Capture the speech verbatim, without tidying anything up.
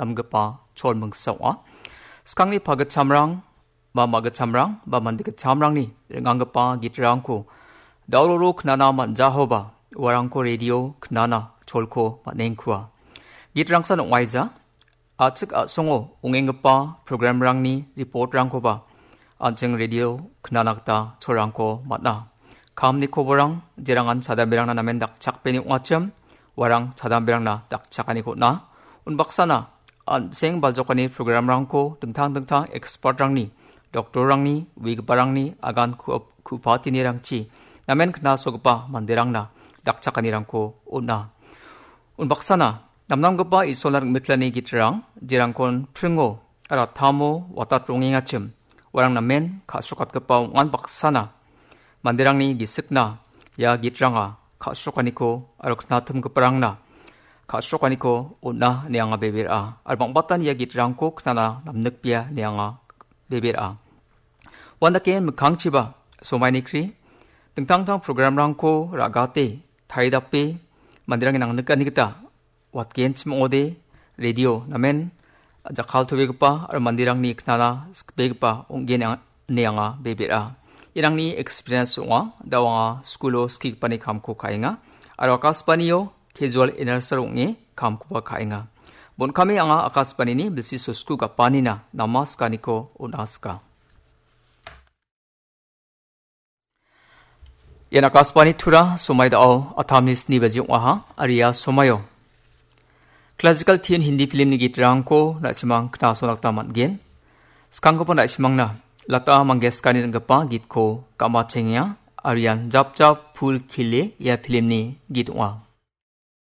namgipa cholmingsa ong·a. Skangni pagitchamrang ba magitchamrang ba mande gitchamrangni ringanggipa gitrangko dauroro knana man·jahoba uarangko radio knana cholko man·engkua. Gitrangsan ong·aija, a·chik a·songo ong·enggipa programrangni reportrangkoba an·ching radio knana gita cholrangko man·a. Kamni koborang jerangan chadamberangna namen dakchakpeni ong·achim, uarang chadamberangna dakchakaniko on·a. Unbaksana an·seng baljokani programrangko dingtang dingtang expertrangni, doktorrangni, uigiparangni agan ku-, ku·patinirangchi namen knasogipa manderangna dakchakanirangko on·a. Unbaksana namnamgipa Isolna ring·mitlani gitrang, jerangkon pringo aro tamo watatongengachim, uarang namen ka·srokatgipa ong·an baksana manderangni gisikna ia gitranga ka·srokaniko aro knatimgiparangna ka·srokaniko on·a ine anga bebe ra·a. Aro bang·batan ia gitrangko knana namnikbea ine anga bebe ra·a. Uandake mikkangchiba somaini kri dingtang dingtang programrangko ra·gate taridape manderangni nangnikani gita watgenchim ong·ode, radio namen jakkaltobegipa aro manderangni knana sikbegipa ong·gen ang-, ine anga bebe ra·a. Irangni experience ong·a, da·o anga skulo skigipani kamko ka·enga, aro Akashbanio casual announcer ong·e kamkoba ka·enga. Bonkame anga Akashbanini bilsi sosku gapanina namaskaniko on·aska. Ian Akashbani Tura, somai da·o atamni sni baji ong·aha, aro ia somaio classical tin Hindi filmni gitrangko na·simang knasona gita man·gen. Skanggipa na·simangna Lata Mangeshkarni ring·gipa gitko gam·atchengenga, aro ian Jap Jap Phul Khile ia filmni git ong·a.